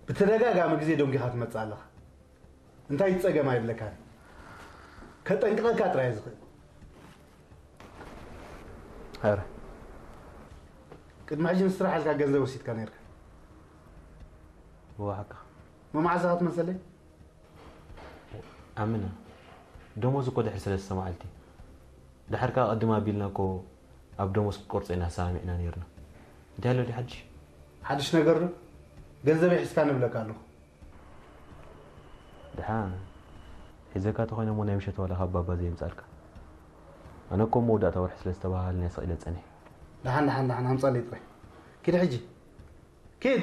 ብተደጋጋሚ ግዜ ደንጒኻ ትመጽእ ኣለኻ። እንታይ ጸገም ኣይብለካን። ከጠንቅቐካ ጥራይ ዝኽእል። ኧረ ቅድሚ ሕጂ ንስራሕ ኢልካ ገንዘብ ወሲድካ ነርካ። ብዋሕካ መማዕዛኻ ትመሰለይ። ኣምና ደሞዝ እኮ ድሕሪ ሰለስተ መዓልቲ። ድሓር ከኣ ቅድም ኣቢልና እኮ ኣብ ደሞዝ ክትቆርጾ ኢና ተሰማሚዕና ነይርና። እንታይ ኣሎ ድዩ ሓድሽ? ሓድሽ ነገር ዶ? ገንዘበይ ሒዝካ ንብለካ ኣለኹ። ድሓን ሒዘካ ተኾይነ እሞ ናይ ምሸት ዋላ ካብ ባባ ዘየምጻልካ። ኣነ እኮ መወዳእታ ወርሒ ስለ ዝተባሃልና ስቕ ኢለ ጸኒሐ። ደሓን ደሓን ደሓን ኣምጻለይ ጥራይ። ኪድ ሕጂ ኪድ።